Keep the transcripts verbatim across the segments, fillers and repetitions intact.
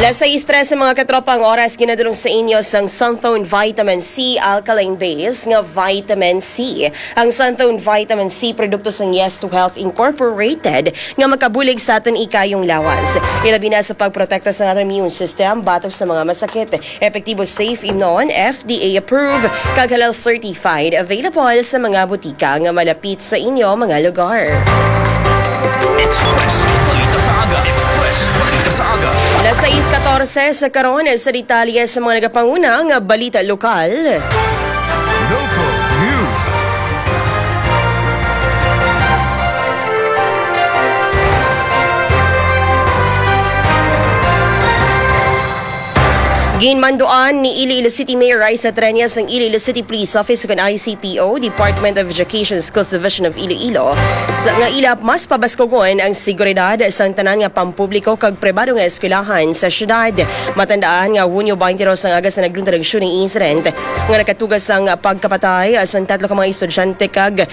Sa istres sa mga katropa, ang oras ginadulong sa inyo sang Santhone Vitamin C Alkaline Base nga Vitamin C. Ang Santhone Vitamin C, produkto sang Yes to Health Incorporated, nga makabulig sa aton ikayong lawas. Ilabi na sa pagprotekta sa aton immune system batok sa mga masakit. Epektibo, safe, imnon, F D A approved, kag halal certified. Available sa mga butika nga malapit sa inyo mga lugar. Express Balita sa Aga. Express Balita sa Aga. Las sais katorse sa karon, sa detalye sa mga nagapanguna nga balita lokal. Local News. Ginmanduan ni Iloilo City Mayor Raisa Treñas ang Iloilo City Police Office, kon I C P O, Department of Education, Schools Division of Iloilo, sa, nga ila mas pabaskugon ang seguridad sang tanan nga pampubliko kag pribado nga eskwelahan sa syudad. Matandaan nga Hunyo twenty-two ang aga sa nagluntad ang shooting incident nga nakatuga sang pagkapatay sang tatlo ka mga estudyante kag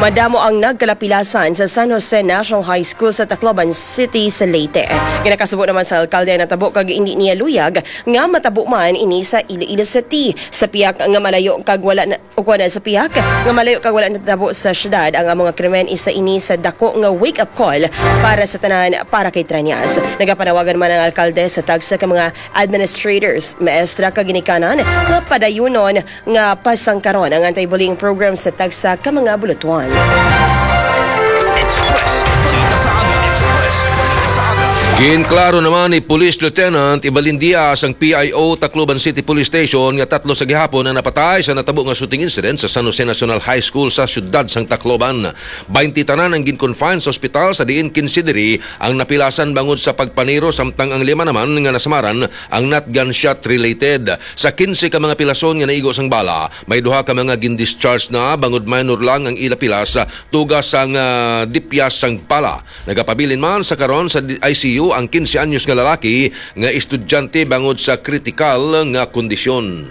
madamo ang nagkalapilasan sa San Jose National High School sa Tacloban City sa Leyte. Ginakasubo naman sa alkalde ang natabo kag indi niya luyag nga matabo man ini sa Iloilo City. Sa pihak nga malayo kag wala na, ukon sa pihak nga malayo kag wala natabo sa syudad ang amo nga krimen, isa ini sa dako nga wake-up call para sa tanan, para kay Treñas. Nagapanawagan man ang alkalde sa tagsa ka mga administrators, maestra kag ginikanan nga padayunon nga pasangkaron ang anti-bullying program sa tagsa ka mga bulutuan. Express Balita sa Aga. Express Balita sa Aga. Ginklaro naman ni Police Lieutenant Evelyn Diaz, ang P I O Tacloban City Police Station, nga tatlo sa gihapon ang napatay sa natabo nga shooting incident sa San Jose National High School sa siyudad sang Tacloban. Baynte tanan ang gin-confine sa ospital, sa diin kinse diri ang napilasan bangod sa pagpaniro, samtang ang lima naman nga nasamaran ang not gunshot related. Sa kinse ka mga pilason nga naigo sang bala, may duha ka mga gin-discharge na, bangod minor lang ang ila pilas, tuga sang, ah, dipyas sang bala. Nagapabilin man sa karon sa di-, I C U ang kinse anyos nga lalaki nga estudyante bangod sa kritikal nga kondisyon.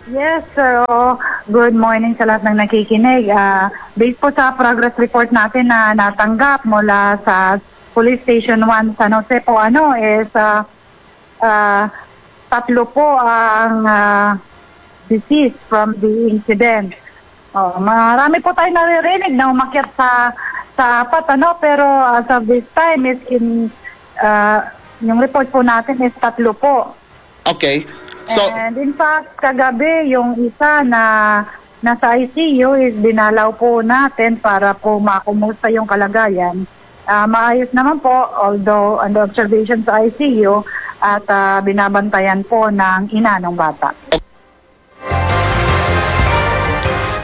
Yes, sir. Oo. Good morning sa lahat ng nakikinig. Ah, based po sa progress report natin na natanggap mula sa Police Station one San Jose po, ano, is, ah, ah, tatlo po ang, ah, deceased from the incident. Oh, marami po tayo naririnig na umakyat sa, sa apat, ano, pero as of this time is in, ah, yung report po natin is tatlo po. Okay. So, and in fact, kagabi, yung isa na nasa I C U is dinalaw po natin para po makumusta yung kalagayan. Ah, maayos naman po, although under observation sa I C U at, ah, binabantayan po ng ina ng bata.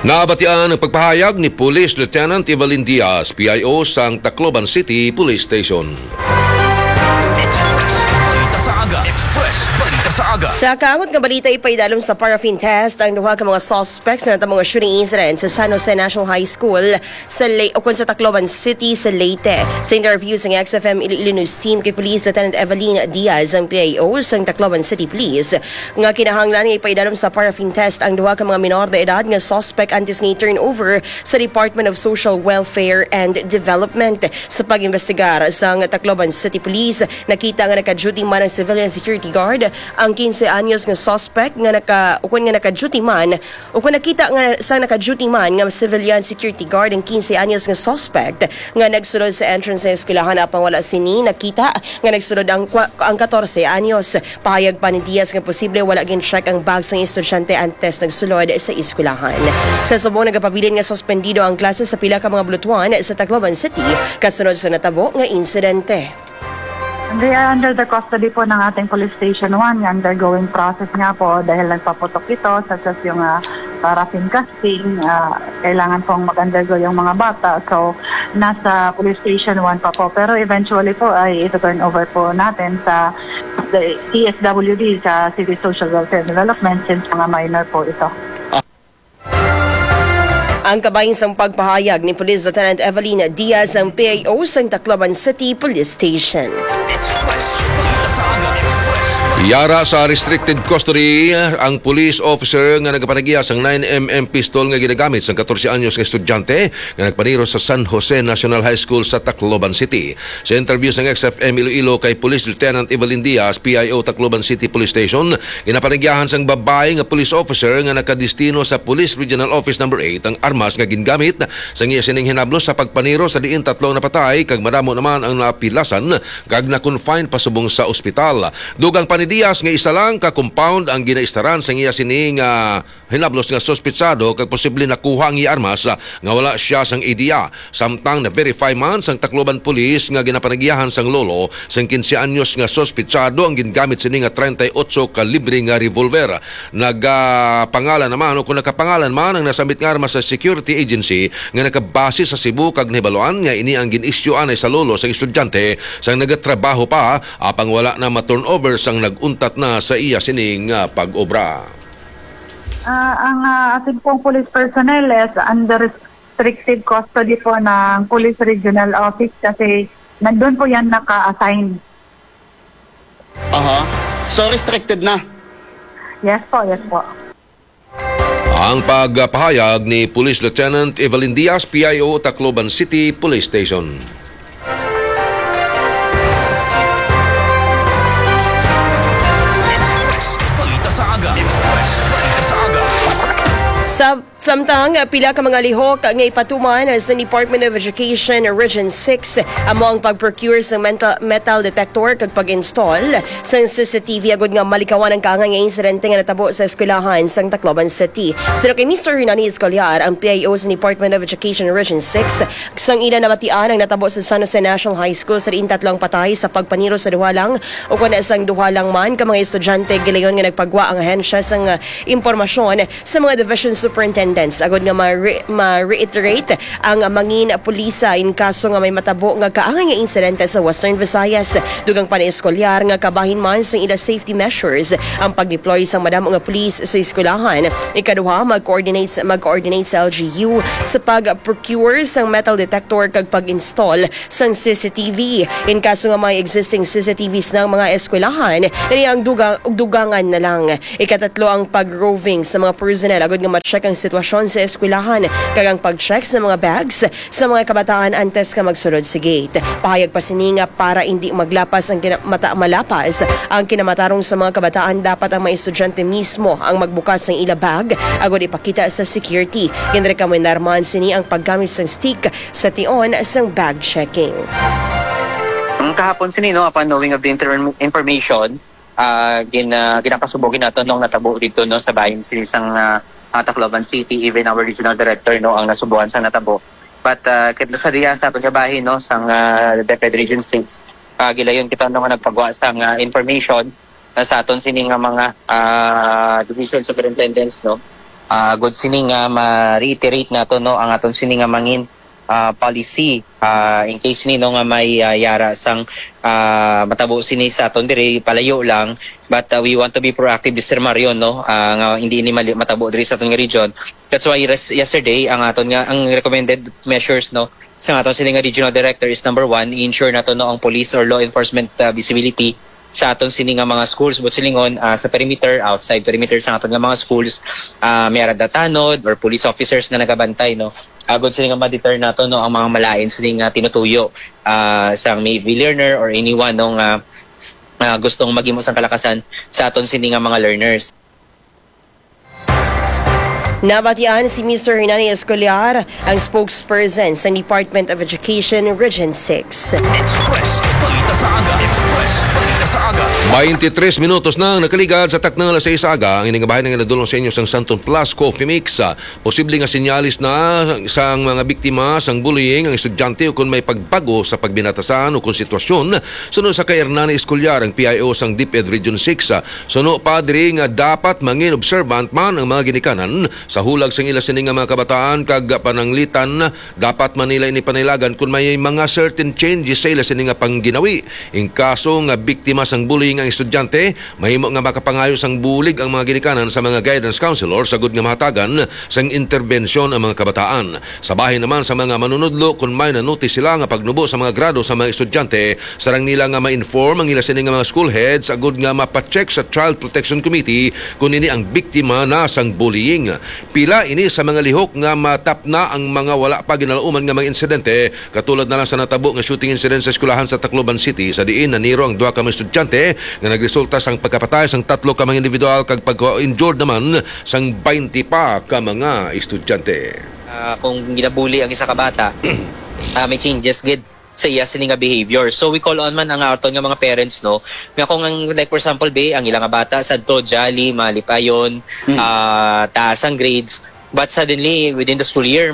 Nabatian ang pagpahayag ni Police Lieutenant Evelyn Diaz, P I O sang Tacloban City Police Station. Express Balita sa Aga. Express Balita sa Aga. Sa kaangot nga balita, ipaidalom sa paraffin test ang duha ka mga suspects sa natabo nga shooting incident sa San Jose National High School sa Ley-, ukon sa Tacloban City sa Leyte. Sa interview sa X F M Iloilo News Team kay Police Lieutenant Evelyn Diaz, ang P I O sang Tacloban City Police, nga kinahanglan nga ipaidalom sa paraffin test ang duha ka mga minor de edad nga suspect antes nga i-turn over sa Department of Social Welfare and Development. Sa pag-imbestigar sang Tacloban City Police, nakita nga naka-duty man ang civilian security guard, ang kinse anyos nga suspect nga naka-, ukon nga naka-duty man, ukon nakita nga sang naka-duty man nga civilian security guard ang kinse anyos nga suspect nga nagsulod sa entrance sa eskwelahan, apang wala sini nakita nga nagsulod ang kwa-, ang katorse anyos. Pahayag pa ni Diaz nga posible wala gin-check ang bag sang estudyante antes nagsulod sa eskwelahan. Sa subong, nagapabilin nga suspendido ang klase sa pila ka mga bulutuan sa Tacloban City kasunod sa natabo nga insidente. They are under the custody po ng ating Police Station one. Undergoing process nga po dahil nagpaputok ito, such as yung, ah, paraffin casting. Ah, kailangan pong mag-undergo yung mga bata. So, nasa Police Station one pa po. Pero eventually po ay ito-turn over po natin sa the C S W D, sa City Social Welfare Development, since mga minor po ito. Ang kabahin sang pagpahayag ni Police Lieutenant Evelyn Diaz, ang P I O sang Tacloban City Police Station. Express Balita sa Aga. Express Yara sa restricted custody ang police officer nga nagapanag-iya sang nine M M pistol nga ginagamit sang katorse anyos nga estudyante nga nagpaniro sa San Jose National High School sa Tacloban City. Sa interview sang X F M Iloilo kay Police Lieutenant Evelyn Diaz, P I O Tacloban City Police Station, ginapanag-iyahan sang babayi nga police officer nga nakadestino sa Police Regional Office Number Eight ang armas nga gingamit sang iya sining hinablos sa pagpaniro, sa diin tatlo ang napatay kag madamo naman ang napilasan kag na-confine pasubong sa ospital. Dugang pa ni Diaz nga isa lang ka compound ang ginaistaran sang iya sini nga hinablos nga suspitsado kag posible nakuha ang iya armas, ah, nga wala siya sang ideya. Samtang na-verify man sang Tacloban Police nga ginapanag-iyahan sang lolo sang quince anyos nga suspitsado ang gingamit sini nga treinta y ocho kalibre nga revolver. Nagapangalan naman o kung nakapangalan man ang nasambit nga armas sa security agency nga nakabase sa Cebu kag nahibaluan nga ini ang gin-isyu anay sa lolo sang estudyante sang nagatrabaho pa, apang wala na ma-turnover sang nag-untat na sa iya sining, ah, pag-obra. Ah, ang, ah, ating pong police personnel is under restrictive custody po ng Police Regional Office kasi nandun po yan naka-assign. Aha. So, restricted na? Yes po, yes po. Ang pagpahayag ni Police Lieutenant Evelyn Diaz, P I O, Tacloban City Police Station. Express, balita sa aga. Express, balita sa aga. Sa Samtang, ah, pila ka mga lihok nga ipatuman sa Department of Education Region six, amo ang pag-procure sa mental, metal detector kag pag-install sa C C T V agud nga malikawan ang kaangay nga insidente nga natabo sa eskwelahan sang Tacloban City. Suno kay Mister Hernani Escolar, ang P I O sa Department of Education Region six, sang ila nabatian ang natabo sa San Jose National High School, sa diin tatlo ang patay sa pagpaniro sa duha lang o kon sang duha lang man ka mga estudyante. Gilayon nga nagpagwa ang ahensya sang, ah, impormasyon sa mga division superintendents agud nga ma-re-, ma-reiterate ang mangin pulisa in kaso nga may matabo nga kaangay nga insidente sa Western Visayas. Dugang pa ni Escolar nga kabahin man sang ila safety measures ang pag-deploy sang madamo nga pulis sa eskwelahan. Ikaduha, mag-coordinate sa, mag-coordinate sa L G U sa pag-procure sang metal detector kag pag-install sang C C T V. In kaso nga may existing C C T Vs ng mga eskwelahan, ini ang dugang, dugangan na lang. Ikatatlo ang pag-roving sa mga personnel agud nga ma-check ang sitwasyon sa eskwelahan kag ang pag-check sa mga bags sa mga kabataan antes nga magsulod sa gate. Pahayag pa sini nga para indi maglapas ang kina-, mata-, malapas ang kinamatarong sa mga kabataan, dapat ang mga estudyante mismo ang magbukas sang ila bag agud ipakita sa security. Ginrekomendar man sini ang paggamit sang stick sa tion sang bag checking. Ang kahapon sini, no, upon knowing of the inter-, information, ah, gin-, ah, ginapasubo gid nato nung natabo dito, no, sa bahin sini sang, ah, ah, Tacloban City, even our regional director, no, ang nasubuhan sa natabo. But, ah, kit sa diya sa aton sa bahin, no, sang, ah, DepEd Region six, ah, gilayon kita, no, nga nagpagwa sang, ah, information na sa aton sini nga mga, ah, division superintendents, no. Ah, good sini nga ma-reiterate nato, no, ang aton sini nga mangin, ah, policy, ah, in case ni, no, nga may, ah, yara sang, ah, matabo sini sa aton diri palayo lang, but, ah, we want to be proactive, Mister Mario, no, ah, nga hindi ini mali-, matabo diri sa aton nga region. That's why res-, yesterday ang aton nga, ang recommended measures, no, sa aton sini nga regional director is number one, i-ensure nato, no, ang police or law enforcement, ah, visibility sa aton sini nga mga schools, but silingon, ah, sa perimeter, outside perimeter sa aton nga mga schools, ah, may ara da tanod or police officers nga nagabantay, no? Agod sini nga ma-deter nato, no, ang mga malain sini nga tinutuyo, ah, sang maybe learner or anyone, no, nga, ah, gustong maghimo sang kalakasan sa aton sini nga mga learners. Nabatian si Mister Hernani Escolar, ang spokesperson sa Department of Education Region six. Express, balita sa aga. Express, balita sa aga. Twenty-three minutos na ang nakaligad sa takna alas sais sa aga. Ang ining bahin nga nadulong sa inyo sang Santon Plus Coffee Mix. Ah, posible nga sinyalis na sang mga biktima sang bullying ang estudyante o kung may pagbago sa pagbinatasan o kung sitwasyon. Suno sa kay Hernani Escolar, ang P I O sang DepEd Region six, ah, suno pa diri nga dapat mangin observant man ang mga ginikanan sa hulag sang ila sini nga mga kabataan kag pananglitan. Dapat man nila ini panaylagan kung may mga certain changes sa ila sini nga pangginawi. In kaso nga biktima sang bullying Ang estudyante, mahimo nga makapangayo sang bulig ang mga ginikanan sa mga guidance counselor sagod nga mahatagan sang interbensyon ang mga kabataan. Sa bahin naman sa mga manunudlo, kon may na-notice sila nga pagnubo sa mga grado sa mga estudyante, sarang nila nga ma-inform ang ila sini nga mga school heads agud nga mapacheck sa Child Protection Committee kon ini ang biktima na sang bullying. Pila ini sa mga lihok nga matapna ang mga wala pa ginalauman nga mga insidente, katulad na lang sa natabo nga shooting incident sa eskwelahan sa Tacloban City, sa diin naniro ang duha ka mga estudyante nga nagresulta sang pagkapatay sang tatlo ka mga individual kag pagka-injured naman sang twenty pa ka mga estudyante. Ah, kung ginabuli ang isa ka bata, ah, may changes gid sa iya sini nga behavior. So we call on man ang aton nga mga parents, no, nga kung ang, like, for example, be, ang ila nga bata sadto jolly, malipayon, Mm. ah, taas ang grades, but suddenly within the school year,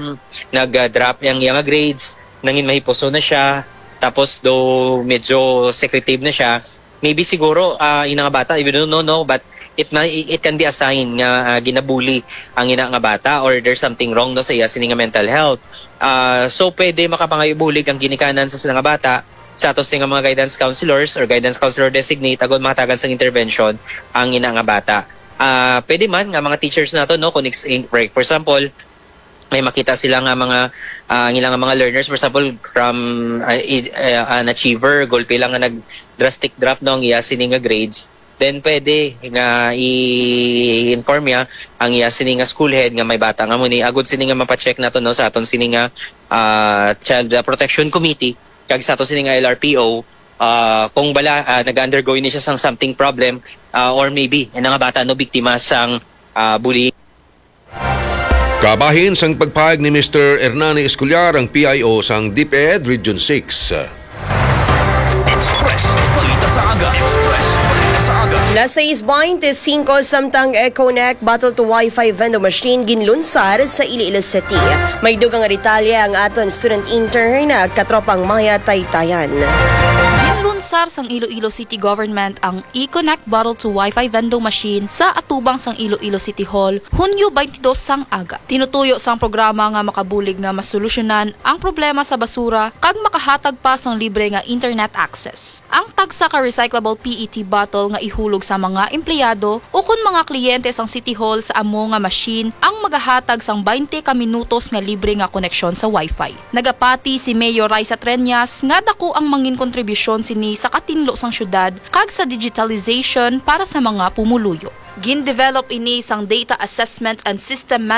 nag-drop ang iya nga grades, nangin mahipuso na siya, tapos do medyo secretive na siya, maybe siguro, ah, ina nga bata, we don't know, no, but it may, it can be a sign nga, ah, ginabuli ang ina nga bata or there's something wrong, no, sa iya sini nga mental health. Ah, so pwede makapangayo bulig ang ginikanan sa sila nga bata sa ato sini nga mga guidance counselors or guidance counselor designate agud mahatagan sang intervention ang ina nga bata. Ah, pwede man nga mga teachers nato, no, kung ex-, in-, for example, may makita sila nga mga, ah, ang ilang mga learners, for example, from, ah, i-, ah, an achiever, gulpi lang nga nag drastic drop, no, ang iya sini nga grades, then pwede nga i-inform niya ang iya sini nga school head nga may bata nga muni, agud sini nga mapacheck nato, no, sa aton sini nga, ah, Child, ah, Protection Committee kag sa aton sini nga L R P O, ah, kung bala, ah, nag-undergo ini siya sang something problem, ah, or maybe ina nga bata, no, biktima sang, ah, bullying. Kabahin sang pagpahayag ni Mister Hernani Escolar, ang P I O sang DepEd Region six. Express Balita sa Aga. Express Balita sa Aga. Las sais baynte singko, samtang Econet Battle to Wi-Fi vending machine ginlunsar sa Iloilo City. May dugang nga detalye ang aton student intern, Katropang Maya Taytayan. Ginlunsar sang Iloilo City Government ang Econet Battle to Wi-Fi vending machine sa atubang sang Iloilo City Hall, Hunyo twenty-two sang aga. Tinutuyo sang programa nga makabulig nga masolusyonan ang problema sa basura kag makahatag pa sang libre nga internet access. Ang tagsa ka recyclable P E T bottle nga ihulog sa mga empleyado ukon mga kliyente sang City Hall sa amo nga machine ang magahatag sang baynte ka minutos nga libre nga koneksyon sa Wi-Fi. Nagapati si Mayor Raisa Treñas nga dako ang mangin kontribusyon sini sa katinlo sang syudad kag sa digitalization para sa mga pumuluyo. Gin-develop ini sang Data Assessment and System Management